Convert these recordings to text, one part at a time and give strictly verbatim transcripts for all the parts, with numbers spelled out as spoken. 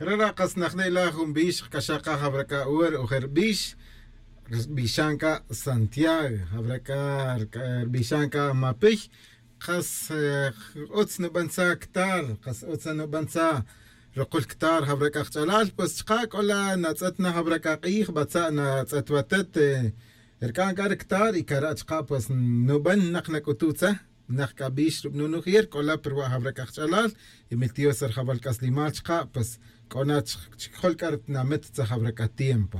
Cara' ra' kas najne' la jun bix k'axa' qa jawra' k'a ur ojer bix. Rbixan k'a santiago jawra' k'a, rbixan k'a mapiy. Qas utz nuban tza ktar, qas utz nuban tza rukul ktar jawra' k'a qch'alal pues chqa' k'ola natz'et na jawra' k'a q'ij batza' natz'et watet. Rk'an k'a ri ktar y kara' chqa' pues nuban naq nak'utu' tza. Naq k'a bix rub'nun ujier k'ola pirwa' jawra' k'a qch'alal. Y miltiyos rjawal k'aslimal chqa' pues k'o na chkjol k'a ri tinamit tza jawra' k'a tiempo.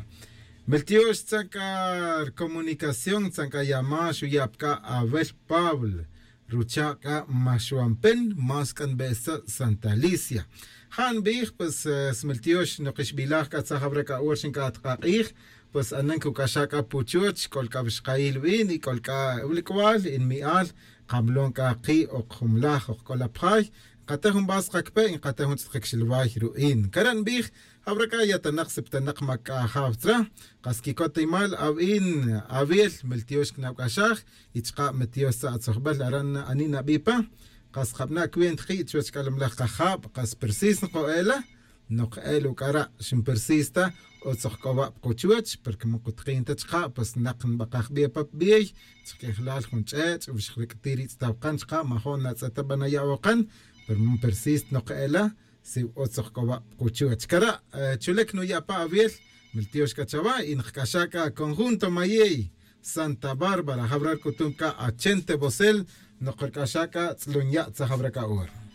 Miltiyos tza k'a rcomunicación tza k'a yama xuya' pa k'a awel pablo, rucha' k'a maxwampen mas k'a nbe'es tza santa alicia. Ja' nbij pues smiltiyos nokixbilaj k'a tza jawra' k'a ur xin k'a at k'a q'ij. Pues anan kuk'axa' k'a puchuch k'ol k'a wixqayil win y k'ol k'a wulk'wal y nmi'al. Qamlon k'a ki' ok jumlaj ok k'ola pjay. Nkate' jun bas qakpe' nkate' jun tz'it qakxilway ru'in kara' nbij. Jawra' k'a yatanak siptanak ma k'a jaw tzra. Qas kikotimal awin awil miltiyos knabk'axaj. Y chka' miltiyos tza atzojbel ara' ani' nabi' pa. Qas jabna' cuenta ki' chuwech k'alamlaj kajab qas persis nko'ela. Nok el uk'ara' xinpersis ta utz oj k'o wa' pa quchuwech porque man qutkin ta chka' pues naq nbakaj bi' pa pa bey. Chk'ejlal jun ch'ech' wi xjrik'ti ri tz'itaw qan chka' majo' natz'et ta ba naya' awoqan. Pero man persis ta nok ela si utz oj k'o wa' pa quchuwech kara'. Chulek nuya' pa awil miltiyos k'a chawa y nqk'axa' k'a conjunto mayey santa bárbara jawra' rk'utun k'a achente bosel. Nok rk'axa' k'a tz'lun ya' tza jawra' k'a ora.